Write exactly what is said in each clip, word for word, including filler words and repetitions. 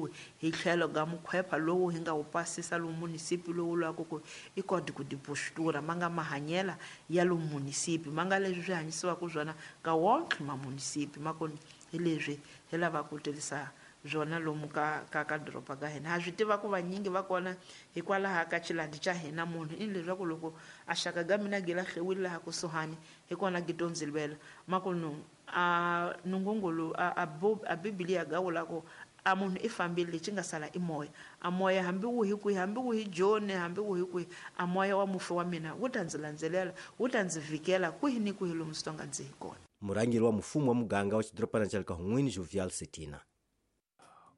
vekeriwi hi tlhelo ga mukhwepha lowu hi nga wu pasisa lomu munisipi lowu lwaku ku i código de postura ma nga mahanyela ya lomu munisipi ma nga leswi swi hanyisiwaka swona ka wonke ma munisipi ma kona hi leswi hi lavaka ku tirhisa byona lomu ka ka ka doroba ka hina. Ha swi tiva ku vanyingi va kona hikwalaho ka xilandi xa hina munhu i leswaku loko a xaka ga mina gi lahliwile laha kusuhani hi kona gi to ndzi lwela makunu a nungungulu a a, a bibiliya ga vula ku a munhu i fambile lexi nga sala i moya a moya hambi wu hi kwihi hambi wu hi joni hambi wu hi kwihi a moya wa mufi wa mina wu ta ndzi landzelela wu ta ndzi vikela kwihi ni kwihi lomu swi tonga ndzi hi kona. Murhangeri wa mfumo wa muganga wa xidorobana xa le Kahungwini Jovial Setina.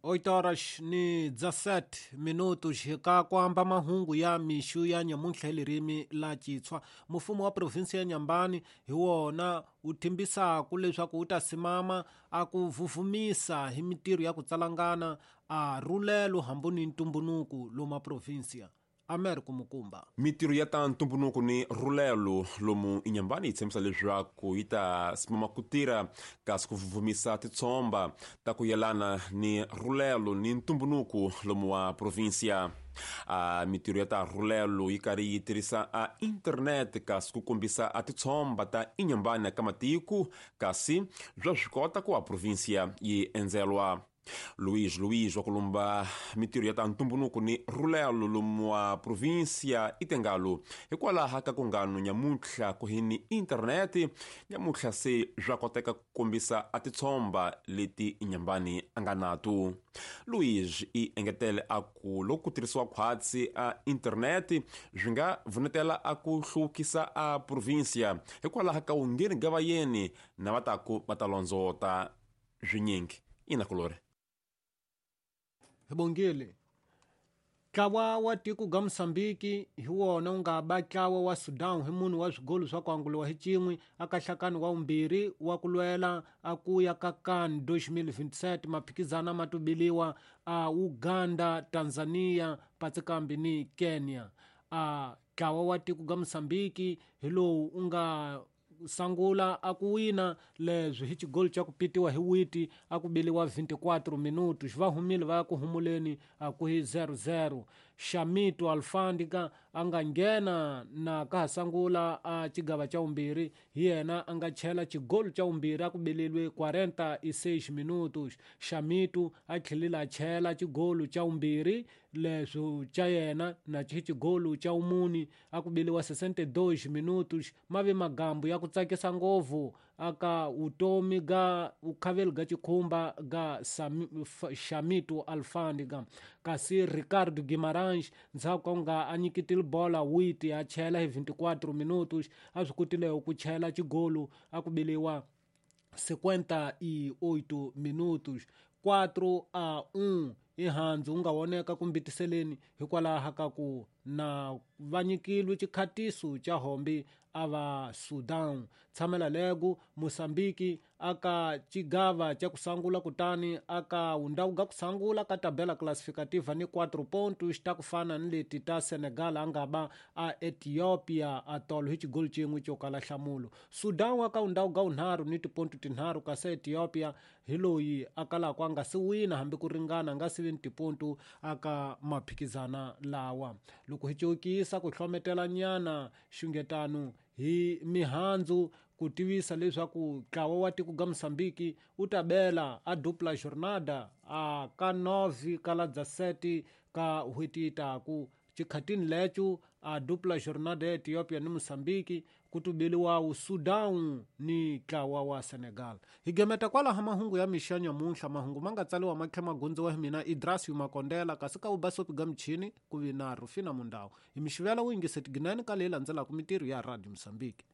oito horas ni dezessete minutos ka kuamba mahungu ya mixu ya nyamuntlha hi lirimi la Xitswa. Mfumo wa provinsi ya Nyambani hi wona wu thembisaka leswaku wu ta simama a ku vuvumisa hi mitirho ya ku tsalangana a rhulelo hambi ni ntumbunuku loma provinsia. Americo Mukumba. Mitirho ya ta ntumbunuku ni rhulelo lomu Inyambani yi tshembisa leswaku yi ta simama ku tirha kasi ku vuvumisa titshomba ta ku yelana ni rhulelo ni ntumbunuku lomu wa provinsia. A mitirho ya ta rhulelo yi karhi yi tirhisa a internet kasi ku kombisa a titshomba ta Inyambani ka matiko kasi bya swi kota ku a provinsia yi endzelwa. Luiz Luiz wa kulumba mitirho ya ta ntumbunuku ni rhulelo lomu wa provinsia itengalo hikwalaho ka ku ngano nyamuntlha ku hi ni interneti nyamuntlha se swa koteka ku kombisa a titshomba leti Inyambani a nga nato. Luiz i engetele a ku loko ku tirhisiwa khwatsi a interneti swi nga vunetela a ku hluvukisa a provinsia hikwalaho ka wungheni ga vayeni na va ta ku va ta londzota swinyingi. Ina kulore. Bongile. Ntlawa wa tiko ga Mozambique hi wona wu nga ba ntlawa wa Sudan hi munhu wa swigolo swa ku anguliwa hi cin'we aka nhlakano wa vumbirhi wa ku lwela a ku ya ka CAN dois mil e vinte e sete maphikizana ma tubiliwa a Uganda, Tanzania, Patsikambi ni Kenya. A ntlawa wa tiko ga Mozambique hi lowu u nga sangula a ku wina leswi hi xigolo xa ku pitiwa hi witi a ku biliwa vinte e quatro minutos va humile va ya ku humuleni a ku hi zero zero. Xamito Alfandika a nga nghena na ka ha sangula a xigava xa vumbirhi hi yena a nga chela xigolo xa vumbirhi a ku beleliwe quarenta e seis minutos. Xamito a tlhelile a chela xigolo xa vumbirhi leswo xa yena na xigolo xa vumuni a ku beliwa sessenta e dois minutos. Ma ve magambu ya ku tsakisa ngopfu aka utomi ga ukhaveli ga xikhumba ga Xamito Alfandika. Kasi Ricardo Guimarães ndzhaku ka ku nga a nyiketile bola witi a chela hi vinte e quatro minutos a swi kotile ku chela xigolo a ku beliwa cinquenta e oito minutos. quatro a um i handzu wu nga voneka ku mbitiseleni hikwalaho ka ku na va nyikilwe xikhatiso xa hombi a va Sudan. Tshamela lego Mozambique aka xigava xa ku sangula kutani aka wundawu ga ku sangula ka tabela classificativa ni quatro pontos ta ku fana ni leti ta Senegal a nga ba a Ethiopia a tolo hi xigolo xin'we xo kala nhlamulo. Sudan aka wundawu ga wunharhu ni tiponto tinharhu kasi Ethiopia hi loyi a kalaka a nga si wina hambi ku ringana a nga si vi ni tiponto aka maphikizana lawa. Loko hi cokisa ku hlometela nyana xungetano hi mihandzu ku tivisa leswaku ntlawa wa tiko ga Mozambique wu ta bela a dupla jornada a ka nove ka la dezessete ka n'hweti yi taku. Xikhatini leco a dupla jornada ya Ethiopia ni Mozambique ku tubeliwa Sudan ni ntlawa wa Senegal. Hi gemeta kwalaho mahungu ya mixa nyamuntlha mahungu ma nga tsaliwa ma tlhela ma gondziwa hi mina Idrasio Makondela kasi ka vubasopi ga michini ku vi na Rufina Mundau. Hi mixivela wu yingise tiginani ka leyi landzelaka mitirho ya Radio Mozambique.